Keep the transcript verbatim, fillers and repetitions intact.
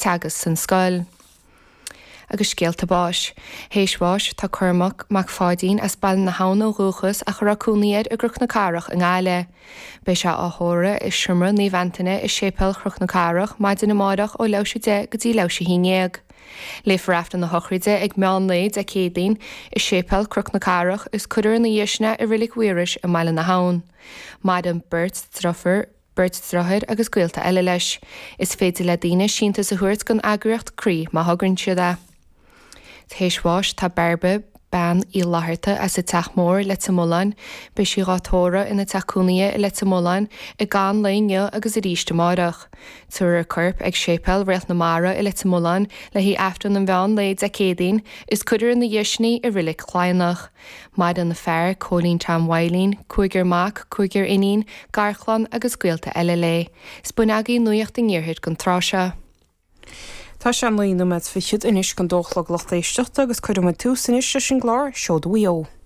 teagasc san scoil. Agus scéalta báis. Théis bháis tá Cormac Mac Pháidín as Baile na hAbhann ó dhúchas ach a raibh cónaí air i gCnoc na Cathrach i nGaillimh. Beidh sé á thórramh i Seomra Naomh Antaine i Séipéal Chnoc na Cathrach maidin amárach ó leathuair théis a deich go dtí leathuair théis a haon déag. Léifear Aifreann na sochraide ag meán lae Dé Céadaoin i Séipéal Chnoc na Cathrach is cuirfear ina dhiaidh sin é i Reilig Mhaorais i mBaile na hAbhann. Maireann beirt deirfiúr beirt deartháir agus gaolta eile leis. Is féidir le daoine síntiús a thabhairt don eagraíocht Croí má thograíonn siad é. Théis bháis tá Bairbre bean Uí Fhlatharta as an Teach Mór Leitir Mealláin, beidh sí á tórramh ina teach cónaithe i Leitir Mealláin i gcaitheamh an lae inniu agus arís amárach. Tabharfar a corp ag Séipéal Réalt na Mara i Leitir Mealláin le haghaidh Aifreann an mheán lae Dé Céadaoin is cuirfear ina dhiaidh sin í i Reilig Chladhnach. Maireann a fear, Cóilín Tom Mhaidhlín, cúigear mac, cúigear iníon, garchlann agus gaolta eile léi. Is b'in agaibh nuacht an iarthair don tráth seo. Tá sé naoi nóiméad fichead anois don dó a chlog lucht éisteachta agus cuirfidh muid tús anois leis an gclár Seoda Mhaigh Eo.